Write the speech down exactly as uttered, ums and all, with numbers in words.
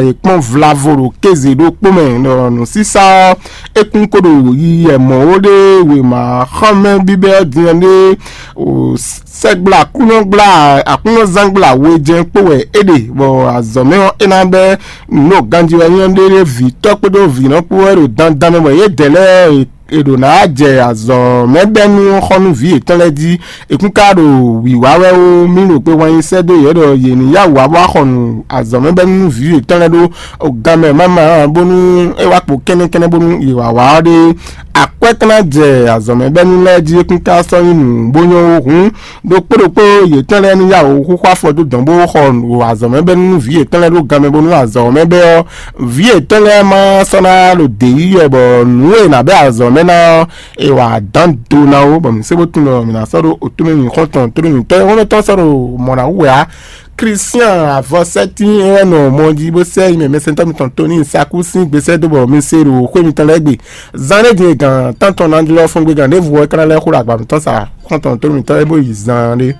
yě kpɔ́n vlavo ɖo kéze ɖokpó mɛ ɖɔ nǔsísá ɔ́, é kún ko ɖo yiyi mɔ̌ ó ɖé wěma xɔ́mɛ bíbɛ́ ɔ́ din ɔ́ ɖé sɛ́gbla kúnɔgbla aklúnɔzángbla wejɛ́n kpó wɛ é ɖe, bɔ azɔ̌ mɛ ɔ́ é ná bɛ́ nǔ ɖo ganjí wɛ nyí ɔ́ ɖé ɖé vǐ tɔ́ kpódó vǐ nɔ kpó wɛ ɖo dandan mɛ, bɔ yědɛɛ lɛ́ɛ è ɖǒ ná jɛ azɔ̌ mɛ bɛ́ nú xɔ nú vǐ yětɔn lɛ́ɛ jí. È kún ka ɖo wǐwá wɛ ó, mì ɖo kpe hwan nyi sɛ́ dó yě ɖɔ yě ní yá wǔ wá bó wá xɔ nǔ azɔ̌ mɛ bɛ́ nú vǐ yětɔn lɛ́ɛ ɖó gan mɛ máma bónú é wá kpo kɛ́nnɛ́kɛ́nnɛ́ bónú yě wá wá ɔ́ ɖé. Akwɛ́ ka ná jɛ azɔ̌ mɛ bɛ́ nú lɛ́ɛ jí, é kún ka sɔ́ nyí nǔ bó nyɔ́ ó hǔn ɖokpó ɖokpó yětɔn lɛ́ɛ ní yá wǔ xúxú afɔ dó dɔ̌n bó xɔ nǔ azɔ̌ mɛ bɛ́ nú vǐ yětɔn lɛ́ɛ ɖó gan mɛ bónú azɔ̌ mɛ bɛ́ ɔ́, vǐ yětɔn lɛ́ɛ ma sɔ́ ná ɖo dě yí wɛ bɔ nǔ e è nǎ bɛ́ azɔ̌ mɛ ná ɔ́, è wǎ dán do ná ó, bɔ mǐ sé bó tunwun ɖɔ mǐ ná sɔ́ ɖó otúmɛ mǐ xɔ́ntɔn tónú mǐtɔn e xɔ́ntɔn sɔ́ ɖo mɔ̌ ná wú wɛ á. Kristian avɔsɛ́tín e wɛ nɔ mɔ jí bó sɛ́ yi mɛ mɛsɛntɔ́ mitɔn Toni Saku sín gbesɛ́ dó bɔ mi se ɖo xwé mitɔn lɛ́ɛ gbe. Zan ɖé din e gǎn tántɔn ná jlɔ́ fɔ́n gbe gǎn ɖěvo wɛ é ka ná lɛ́ xo ɖo agba mitɔn sa xɔ́ntɔn tónú mitɔn é bó yi zan ɖé.